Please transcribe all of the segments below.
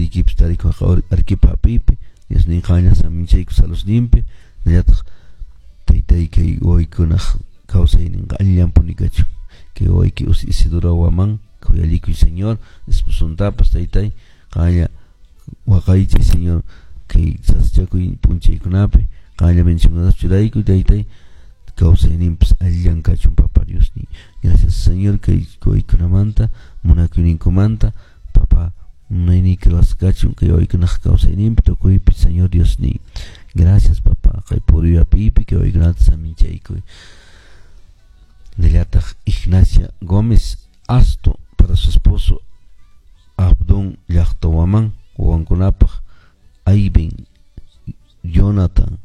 Churiykipis tarikun Arequipa apipi, Diosnin qanlla saminchayku salusninpi, hinallataq taytay kay wawaykunaq kawsayninqa allillanpuni kachun. Kay wawayki Isidora Waman khuyallikuy Señor, esposontapas taytay qanlla waqaychay Señor kay sasachakuy p'unchaykunapi qanlla bendicionkunatapas churaykuy taytay kawsayninpas allillan kachun Papa Diosniy. Gracias Señor kay wawaykunamanta munakuyninkumanta Papa munayniyki ruwasqa kachun kay wawaykunaq kawsayninpi tukuypi Señor Diosniy. Gracias Papa kay puriy apipi kay wawaykunata saminchaykuy. Hinallataq Ignacia Gómez Asto para su esposo Abdón Llaqtawaman wawankunapaq Ayben, Jonathan,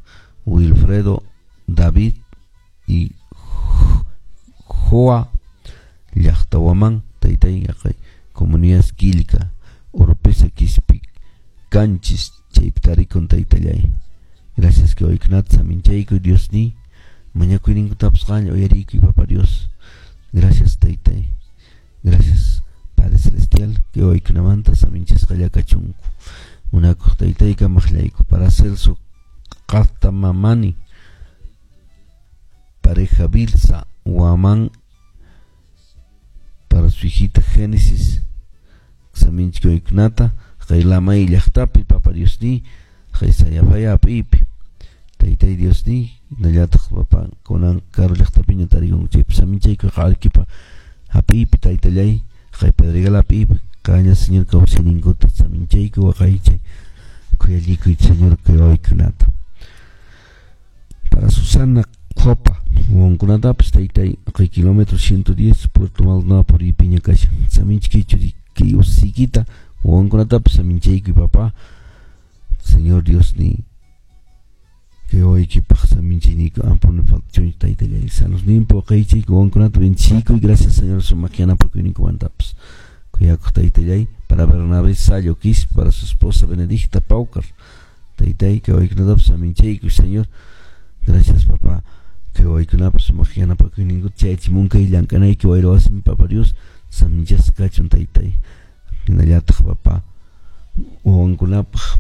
Wilfredo, David y Joa Llaqtawaman taytay yaqay comunidad Quilca, Oropesa Quispi Canchis chaypi tarikun taytallay. Gracias kay wawaykunata saminchaykuy Diosniy mañakuyninkutapas qanlla uyariykuy Papa Dios. Gracias taytay. Gracias Padre Celestial kay wawaykunamanta saminchasqalla kachunku. Munakuq taytay kamaqllayku para Celso Qattamamani pareja Bilsa Huamán para su hijita Génesis saminchik wawaykunata kay Lamay llaqtapi Papa Diosniy kay Sayapaya apipi taytay Diosniy hinallataq papa kunan karu llaqtapiña tarikunku chaypi saminchayku Arequipa hapipi taytallay kay Pedregal apipi qanlla Señor kawsayninkuta saminchayku waqaychay khuyallikuy Señor kay wawaykunata. Para Susana Copa wawankunatapas taytay kay kilómetro 110 Puerto Maldonado puriypiña kashan saminchik kay ususiykita wawankunatapas saminchaykuy papá Señor Diosniy kay wawaykipaq saminchayniyku ampuni faltachunchu taytallay salusninpi waqaychay wawankunata bendeciykuy gracias Señor sumaq yanapakuyninkumantapas kuyakuq taytallay para Bernabé Sallo Quispe para su esposa Benedicta Paucar taytay kay wawaykunatapas saminchaykuy Señor gracias papá kay wawaykunapas sumaq yanapakuyninkuta chayachimunkay llank'anayki wayra wasimi Papa Dios saminchasqa kachun taytay hinallataq papá wawankunapaq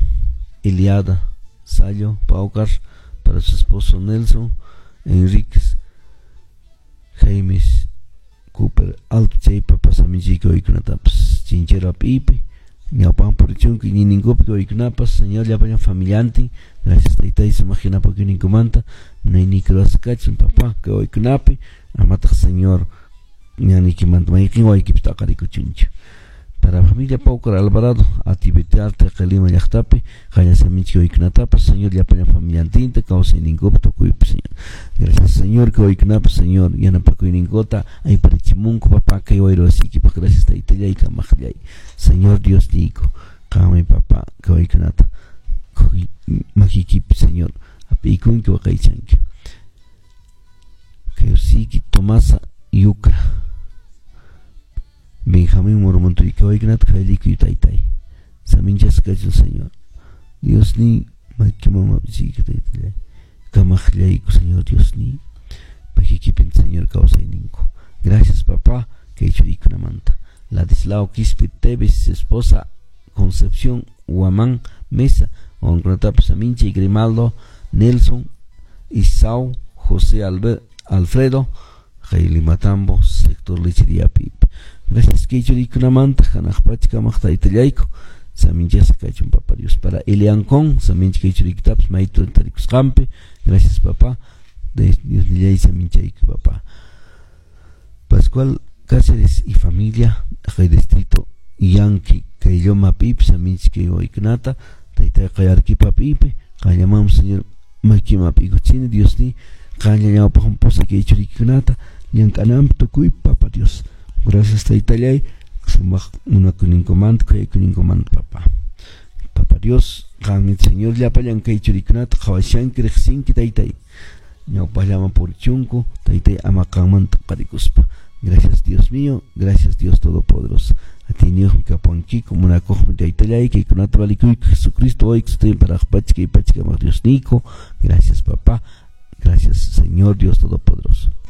Eliada Sallo Paucar para su esposo Nelson Enríquez Jaimes Cooper Alto chaypa saminchayku wawaykunatapas chinchero apipi ñawpaqman purichunku iñiyninkupi wawaykunapas Señor llapallan familiantin gracias taytay sumaq yanapakuyninkumanta munayniyki ruwasqa kachun papá kay wawaykunapi amataq Señor ñanniykimanta mayqin wawaykipis t'aqarikuchunchu. Para familia Paucar Alvarado, Atibetarte, Lima llaqtapi, qalla saminchik wawaykunatapas, Señor llapallan familiantinta, kawsayninkupi tukuypi, Señor. Gracias, Señor, kay wawaykunapas, Señor, yanapakuyninkuta ayparichimunku, papá, kay wayra wasiykipaq, gracias taytallay, kamaqllay. Señor Dios niyku, qanmi, papá, kay wawaykunata makiykipi, Señor, apiykunki waqaychanki. Kay usiyki Tomasa Yucra. Benjamín Murmuntuy kawaykunata khayllikuy taytay. Saminchasqa kachun Señor. Diosniy makiman map'isiyki taytallay. Kamaqllayku Señor Diosniy. Makiykipin Señor kawsayninku. Gracias papá kay churiykunamanta. Ladislao Quispe Tevez, esposa Concepción Huamán Mesa, wawankunatapas saminchay Grimaldo, Nelson, Isao, José Alfredo, kay Limatambo, sector Lechería Pipe. Gracias kay churiykunamanta hanaq pacha kamaq taytallayku saminchasqa kachun Papa Dios. Para Eliancón samincha kay churiykitapas maytu tarikusqanpi. Gracias papá. Dios nillay saminchayku papá. Pascual Cáceres y familia kay distrito Yanqui kay Lloma pipi samincha kay wawaykunata taytay kay Arequipa pipi qallamam Señor makima ap'ikuchini Diosniy qanlla ñawpaqman pusay kay churiykunata llank'ananpi tukuy Papa Dios. Gracias taytallay sumaq munakuyninkumanta khuyakuyninkumanta papá. Papa Dios qanmi Señor llapallan kay churiykunata qhawashanki riqsinki taytay ñawpaqllaman purichunku taytay ama qanmanta qarikuspa. Gracias Dios mío, gracias Dios Todopoderoso. Atiyniyuqmi kapuwankiku munakuqmi taytallay kaykunata valikuyku Jesucristo hoy que para pacha kay pacha kamaq Diosniyku. Gracias papá, gracias Señor Dios Todopoderoso.